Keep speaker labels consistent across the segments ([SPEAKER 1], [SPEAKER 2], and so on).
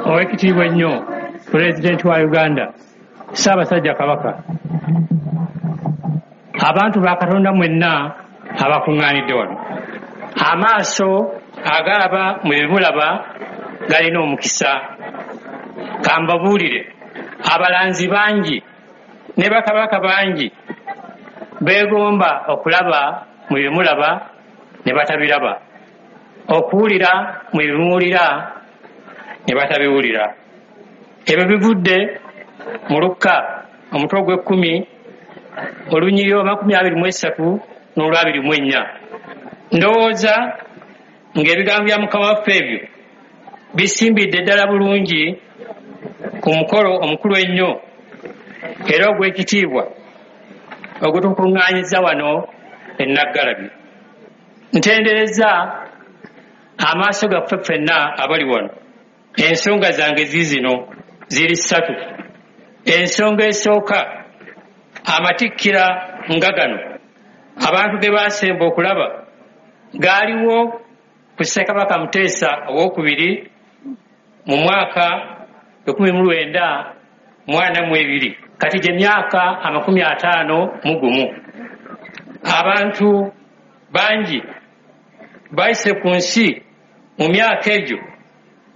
[SPEAKER 1] Oweekitiibwa ennyo Pulezidenti wa Uganda, Ssaabasajja Kabaka, abantu ba Katonda mwenna abakuŋŋaanidde wano, amaaso agalaba mwe bimulaba galina omukisa. Kambabuulire, abalanzi bangi ne bakabaka bangi beegomba okulaba mwe bimulaba ne batabiraba, okuwulira mwe bimuwulira ne batabiwulira. Ebyo bivudde mu Lukka omutwe ogw'ekkumi olunyiriri 23 n'olw24. Ndowooza ng'ebigambo bya Mukama waffe ebyo bisimbidde ddala bulungi ku mukolo omukulu ennyo era ogw'ekitiibwa ogutukuŋŋaanyiza wano e Naggalabi. Ntenderezza amaaso gaffe ffenna abali wano. Ensonga zange ziizino ziri ssatu. Ensonga esooka, amatikkira nga gano abantu ge baasemba okulaba gaaliwo ku Ssekabaka Muteesa ow'okubiri mu mwaka 1942, kati gye myaka 51. Abantu bangi bayise ku nsi mu myaka egyo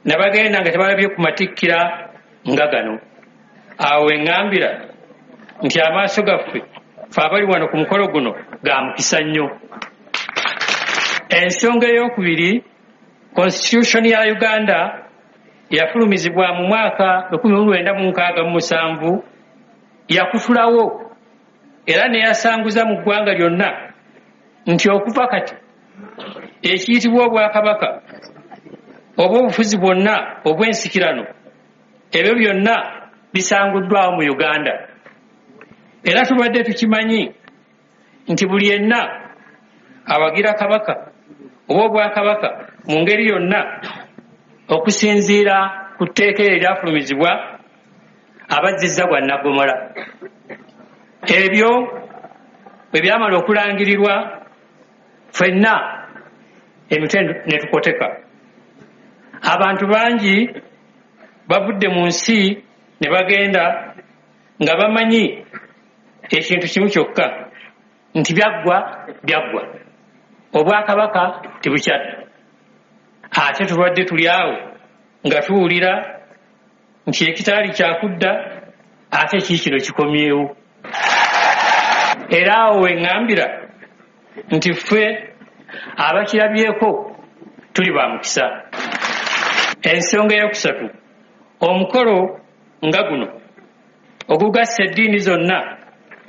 [SPEAKER 1] ne bagenda nga tebalabye ku matikkira nga gano. Awo we ŋŋambira nti amaaso gaffe ffe abali wano ku mukolo guno ga mukisa nnyo. Ensonga ey'okubiri, Constitution ya Uganda yafulumizibwa mu mwaka 1967 yakutulawo era ne yasanguza mu ggwanga lyonna nti okuva kati ekiyitibwa obwakabaka oba obufuzi bwonna obw'ensikirano ebyo byonna bisanguddwawo mu Uganda. Era tubadde tukimanyi nti buli yenna awagira kabaka oba obwakabaka mu ngeri yonna okusinziira ku tteeka eryo eryafulumizibwa abazzizza gwa Naggomola. Ebyo bwe byamala okulangirirwa ffenna emitwe ne tukoteka. Abantu bangi bavudde mu nsi ne bagenda nga bamanyi ekintu kimu kyokka nti byaggwa byaggwa, obwakabaka tebukyadda. Ate tubadde tuli awo nga tuwulira nti ekitaali kyakudda ate kiikino kikomyewo. Era awo we ŋŋambira nti ffe abakirabyeko tuli ba mukisa. Ensonga eyokusatu, omukolo nga guno ogugassa eddiini zonna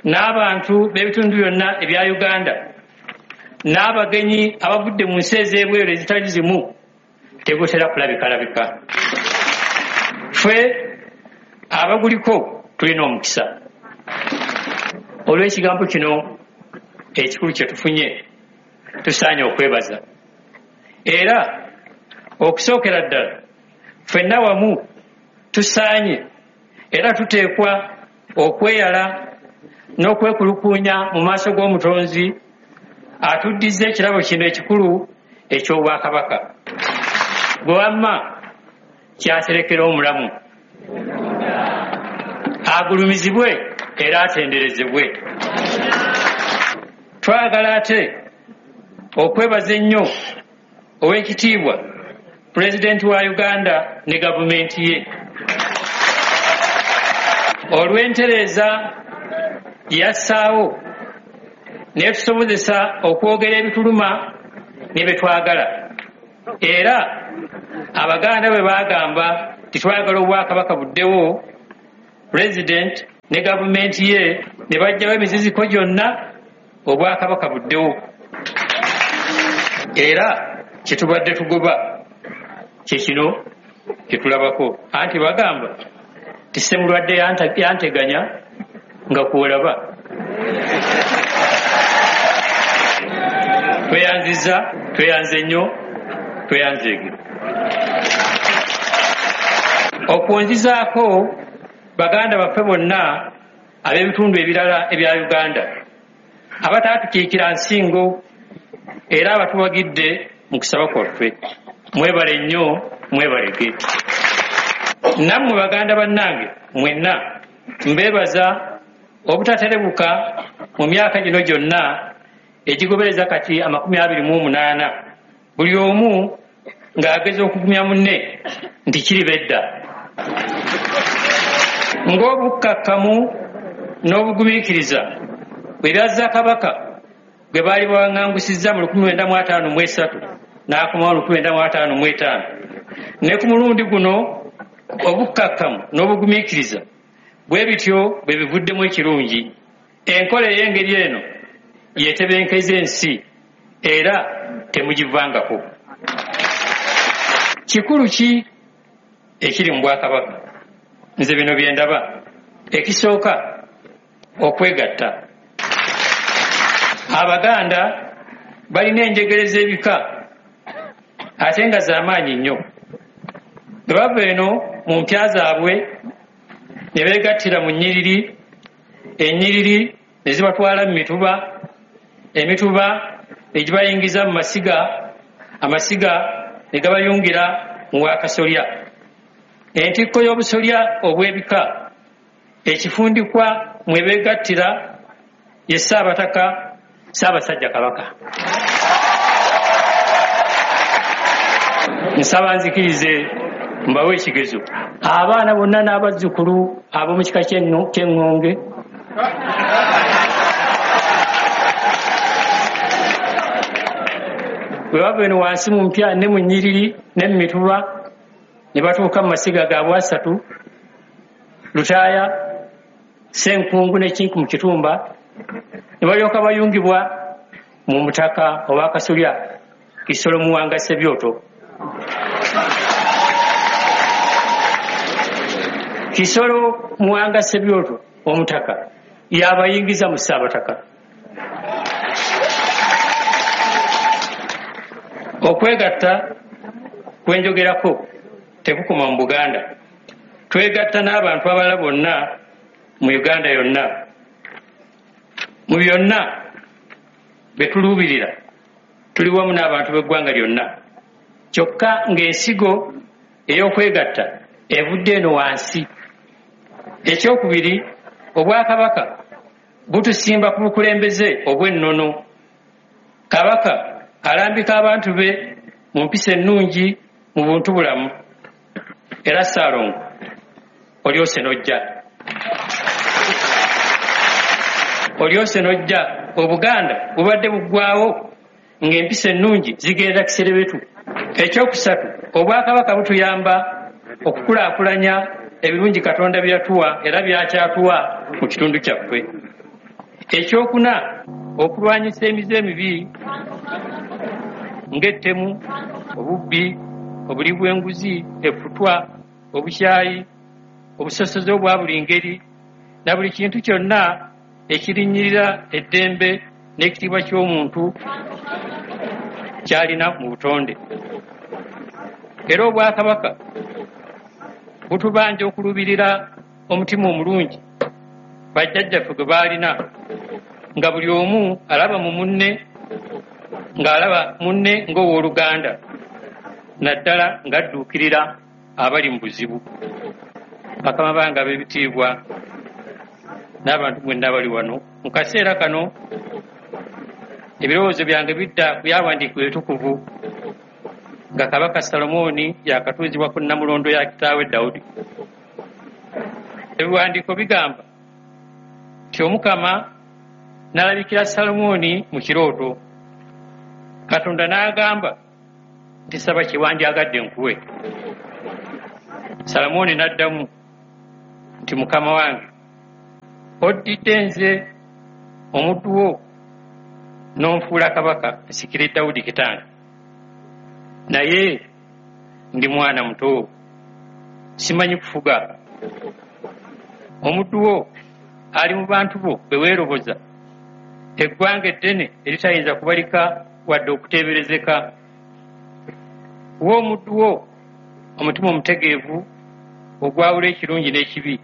[SPEAKER 1] n'abantu b'ebitundu byonna ebya Uganda n'abagenyi abavudde mu nsi ez'ebweru ezitali zimu tegutera kulabikalabika. Ffe abaguliko tulina omukisa olw'ekigambo kino ekikulu kye tufunye, tusaanye okwebaza. Era okusookera ddala ffenna wamu tusaanye era tuteekwa okweyala n'okwekulukuunya mu maaso g'Omutonzi atuddiza ekirabo kino ekikulu eky'obwakabaka. Gwe wamma kyaterekera omulamu, agulumizibwe era atenderezebwe. Twagala ate okwebaza ennyo ow'ekitiibwa Pulezidenti wa Uganda ne gavumenti ye olw'entereeza yassaawo n'etusobozesa okwogera ebituluma ne bye twagala. Era Abaganda bwe baagamba nti twagala obwakabaka buddewo, Pulezidenti ne gavumenti ye ne baggyawo emiziziko gyonna obwakabaka buddewo. Era kye tubadde tugoba kye kino kye tulabako. Anti bagamba nti ssemulwadde yanteganya nga kwolaba. Tweyanzizza, tweyanze nnyo, tweyanzeege. Okwonzizaako baganda baffe bonna ab'ebitundu ebirala ebya Uganda abataatukiikira nsingo era abatuwagidde mu kusaba kwaffe. Mwebale nnyo, mwebalege. Nammwe baganda bannange mwenna mbeebaza obutaterebuka mu myaka gino gyonna egigobereza kati 28, buli omu ng'ageza okugumya munne nti kiriba edda. Ng'obukkakkamu n'obugumiikiriza bwe byazza Kabaka gwe baali bawaŋŋangusizza mu 1953 n'akomawo 1955, ne ku mulundi guno obukkakkamu n'obugumiikiriza bwe bityo bwe bivuddemu ekirungi. Enkola ey'engeri eno yeetebenkeza ensi era temugivangako. Kikulu ki ekiri mu bwakabaka? Nze bino bye ndaba. Ekisooka, okwegatta. Abaganda balina enjegere z'ebika ate nga z'amaanyi nnyo. Bwe bava eno mu mpya zaabwe ne beegattira mu nnyiriri, ennyiriri ne zibatwala mu mituba, emituba ne gibayingiza mu masiga, amasiga ne gabayungira mu wakasolya. Entikko y'obusolya obw'ebika ekifundikwa mwe beegattira ye Ssaabataka Ssaabasajja Kabaka. Nsaba nzikirize mbawe ekigezo. Abaana bonna n'abazzukulu ab'omu kika ky'Eŋŋonge bwe bava eno wansi mu mpya ne mu nnyiriri ne mu mituba ne batuuka mu masiga gaabwe asatu, Lutaaya, Ssenkungu ne Kinku mu Kitumba, ne balyoka bayungibwa mu mutaka ow'akasolya Kisolo Muwanga Ssebyoto. Kisolo Muwanga Ssebyoto omutaka y'abayingiza mu Ssaabataka. Okwegatta kwenjogerako tekukoma mu Buganda. Twegatta n'abantu abalala bonna mu Uganda yonna. Mu byonna bye tuluubirira tuli wamu n'abantu b'eggwanga lyonna. Kyokka ng'ensigo ey'okwegatta evudde eno wansi. Ekyokubiri, obwakabaka butusimba ku bukulembeze obw'ennono. Kabaka alambika abantu be mu mpisa ennungi mu buntu bulamu. Era Ssaalongo olyose n'ojja. Olyose n'ojja. Obuganda bubadde buggwawo ng'empisa ennungi zigenda kiserebetu. Ekyokusatu, obwakabaka butuyamba okukulaakulanya ebirungi Katonda bye yatuwa era by'akyatuwa mu kitundu kyaffe. Ekyokuna, okulwanyisa emize emibi ng'ettemu, obubbi, obuli bw'enguzi, effutwa, obukyayi, obusosoze obwa buli ngeri na buli kintu kyonna ekirinnyirira eddembe n'ekitiibwa ky'omuntu ky'alina mu butonde. Era obwakabaka butubanja okuluubirira omutima omulungi bajjajjaffe gwe baalina, nga buli omu alaba mu munne ng'alaba munne ng'owooluganda, naddala ng'adduukirira abali mu buzibu. Bakama bange ab'ebitiibwa n'abantu mwenna abali wano, mu kaseera kano ebirowoozo byange bidda ku byawandiikibwa ebitukuvu nga Kabaka Salomooni yakatuuzibwa ku nnamulondo ya kitaawe Dawudi. Ebiwandiiko bigamba nti Omukama n'alabikira Salomooni mu kirooto. Katonda n'agamba nti saba kye wandyagadde nkuwe. Salomooni n'addamu nti Mukama wange, oddidde nze omuddu wo n'onfuula kabaka nsikire Dawudi kitange. Naye ndi mwana muto, simanyi kufuga. Omuddu wo ali mu bantu bo be weeroboza, eggwanga eddene eritayinza kubalika wadde okuteeberezeka. Wa omuddu wo omutima omutegeevu ogwawula ekirungi n'ekibi.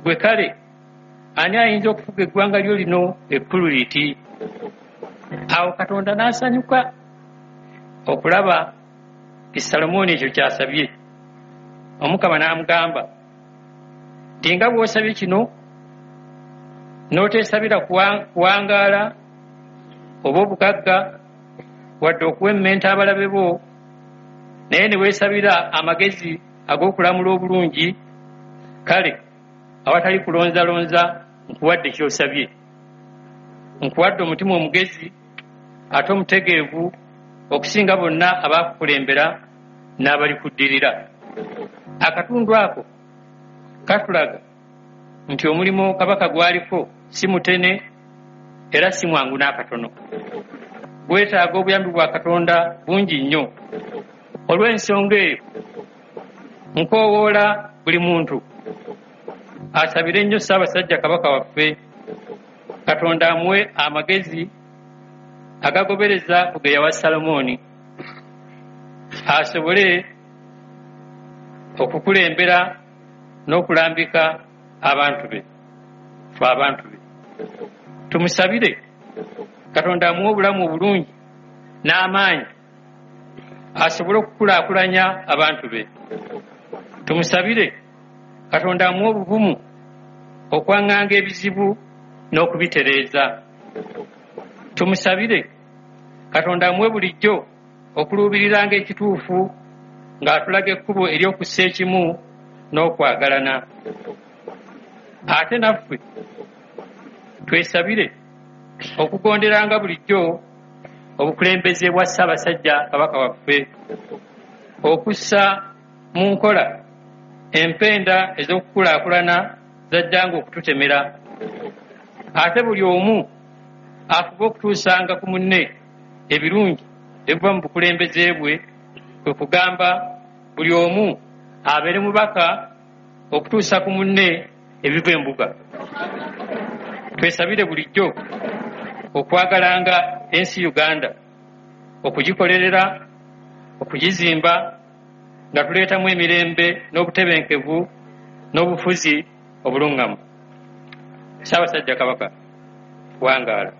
[SPEAKER 1] Gwe kale ani ayinza okufuga eggwanga lyo lino ekkulu liti? Awo Katonda n'asanyuka okulaba nti Salomooni ekyo ky'asabye. Omukama n'amugamba nti nga bw'osabye kino n'oteesabira kuwangaala oba obugagga wadde okuwemmenta abalabe bo, naye ne weesabira amagezi ag'okulamula obulungi, kale awatali kulonzalonza nkuwadde ky'osabye. Nkuwadde omutima omugezi ate omutegeevu okusinga bonna abaakukulembera n'abalikuddirira. Akatundu ako katulaga nti omulimu Kabaka gw'aliko si mutene era si mwangu n'akatono. Gwetaaga obuyambi bwa Katonda bungi nnyo. Olw'ensonga eyo, nkoowoola buli muntu asabire nnyo Ssaabasajja Kabaka waffe, Katonda amuwe amagezi agagobereza ku ge yawa Salomooni, asobole okukulembera n'okulambika abantu be, ffe abantu be. Tumusabire Katonda amuwe obulamu obulungi n'amaanyi asobole okukulaakulanya abantu be. Tumusabire Katonda amuwe obuvumu okwaŋŋanga ebizibu n'okubitereeza. Tumusabire Katonda amuwe bulijjo okuluubiriranga ekituufu ng'atulaga ekkubo ery'okussa ekimu n'okwagalana. Ate naffe twesabire okugonderanga bulijjo obukulembeze bwa Ssaabasajja Kabaka waffe, okussa mu nkola empenda ez'okukulaakulana z'ajjanga okututemera. Ate buli omu afube okutuusanga ku munne ebirungi ebiva mu bukulembeze bwe, kwe kugamba buli omu abeere mubaka okutuusa ku munne ebiva embuga. Twesabire bulijjo okwagalanga ensi Uganda, okugikolerera, okugizimba nga tuleetamu emirembe n'obutebenkevu n'obufuzi obulungamu. Ssaabasajja Kabaka, wangaala.